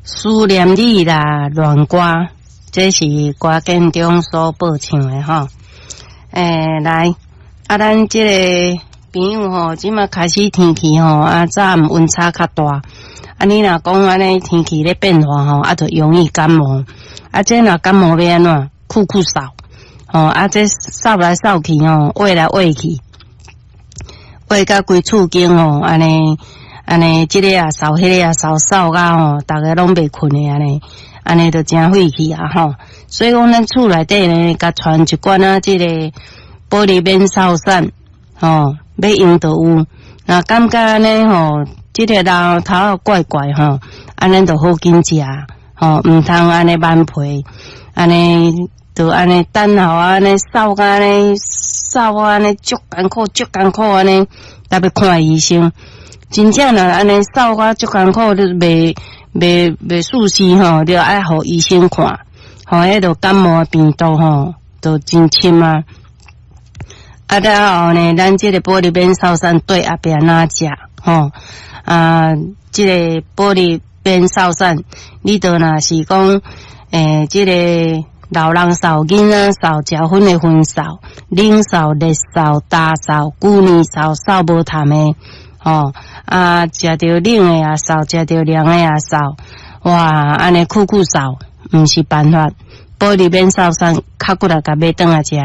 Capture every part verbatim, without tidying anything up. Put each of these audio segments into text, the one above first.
思念你啦，戀歌，這是歌建中所播唱的吼。欸，來，啊，咱這個朋友吼，這馬開始天氣吼，啊，早暗溫差較大。啊，你若講按呢天氣咧變化吼，啊，就容易感冒。啊，這若感冒欲按怎？溼溼嗽，吼，啊，這嗽來嗽去吼，穢來穢去，穢甲規厝間吼，按呢按呢，這個也嗽，彼個也嗽，嗽甲吼，逐家攏袂睏的按呢，按呢就誠火氣啊吼。所以講，咱厝內底呢，共傳一罐仔這個保利免嗽散，吼，欲用就有。若感覺按呢吼，這個人頭殼怪怪吼，按呢就好緊食，吼，毋通按呢慢皮，按呢就按呢等候按呢嗽甲按呢嗽按呢足艱苦足艱苦按呢，才欲看醫生。真正若按呢嗽甲足艱苦，你袂袂袂舒適吼，你愛予醫生看，吼，彼就感冒病毒吼，就真深啊。啊了後呢，咱這個保利免嗽散對後壁哪食吼？啊，這個保利免嗽散，你著若是講，欸，這個老人嗽、囡仔嗽、食薰的薰嗽、冷嗽、熱嗽、焦嗽、久年嗽、嗽無痰的，吼，啊，食著冷的也嗽，食著涼的也嗽，哇，按呢溼溼嗽，毋是辦法。保利免嗽散較骨力共買轉來食，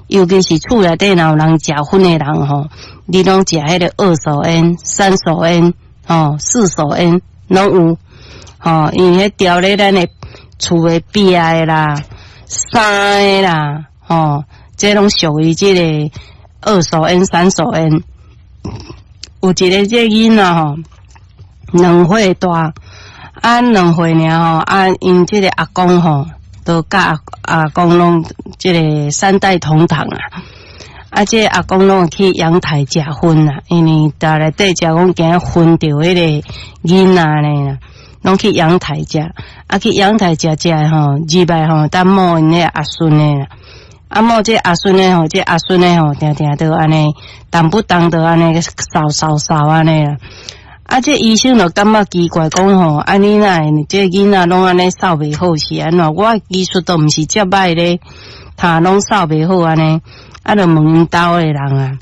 尤其是厝內底若有人食薰的人吼，你攏食彼个二手煙、三手煙、吼四手煙攏有，吼，因為彼調咧咱的厝的壁的啦、衫的啦，吼，這攏屬於這個二手煙、三手煙。有一個這囡仔吼，兩歲大，啊兩歲爾吼，啊𪜶這個阿公吼，都佮阿阿公攏這個三代同堂啊！啊，這個阿公攏去陽台食薰啊，因為佇內底食講驚薰著彼个囡仔呢，攏去陽台食。啊，去陽台食食吼，入來吼，等摸𪜶彼阿孫的啦。啊，摸這阿孫的吼，這阿孫的吼，定定都按呢，動不動就按呢嗽嗽嗽按呢啦。啊！這醫生就感覺奇怪，講吼，啊你哪會這囡仔攏按呢嗽袂好是按怎？我技術都毋是遮歹咧，他攏嗽袂好按呢，啊，就問𪜶兜的人啊，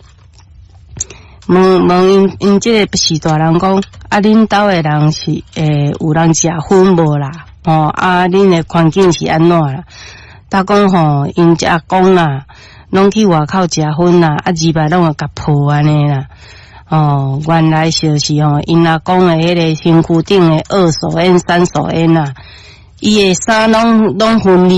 問問𪜶𪜶這個序大人講，啊，恁兜的人是欸有人食薰無啦？吼，啊，恁的環境是按怎啦？他講吼，𪜶這阿公啦，攏去外口食薰啦，啊，入來攏會共抱按呢啦。哦，原來就是吼，𪜶阿公的彼个身軀頂的二手煙、三手煙啊，伊的衫攏攏薰膩。